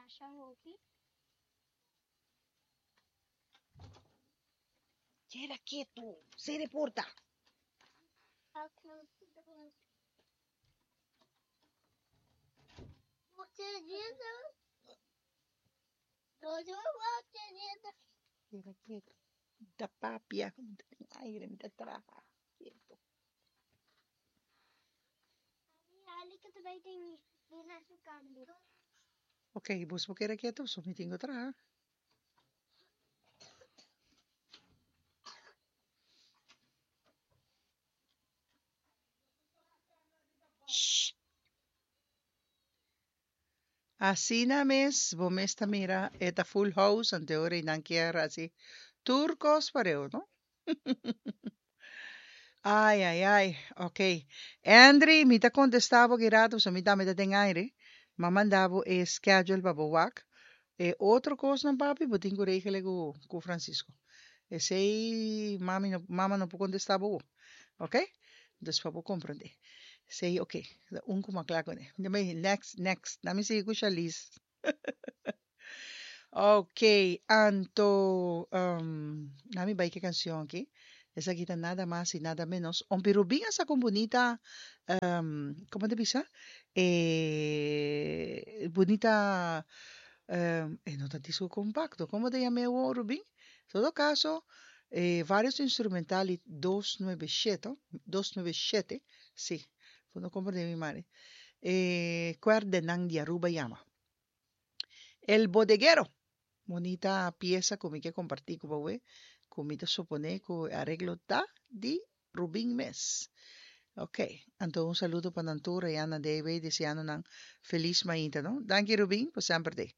Masha hopi. Keda ketu, sera e porta. Keda ketu. Mi ta papia, mi ta den aire, mi ta traha. Ketu. Ok, bos por keda ketu, so mi tin ku traha. Shh. Asina mes bo mes ta mira e ta full house ante ora y nan kier haci tur cos pareu no. Ay ay ay ok Andry mi ta contesta bo ki rato pasobra mi tambe ta den aire m'a manda bo e schedule pa bo wak e otro cosnan papi bo tin cu regele cu Francisco esey mami no mama no por contesta bo awo ok dus pa bo comprende esey ok ta un cu m'a cla cune next next na mi sigui cu Shalise. Ok, anto na mi bai ke cancion aki. Esaki ta nada mas y nada menos. Ompi Rubin a saca un bunita, como ta bisa? E bunita, e no ta disco compacto, como ta yama e awor Rubin? En todo caso, e varios instrumental y dos nuebe shete, dos nuebe shete, si, bo no comprende mi mari. E cuerdenan di Aruba yama. El Bodeguero, bunita piesa ku mi ke kompartí ku bo awe, ku mi ta suponé ku e areglo ta di Rubin mes. Ok, anto un saludo pa nan tur allá na DB deseando nan felis mainta no. Danki Rubin pa semper t'ei.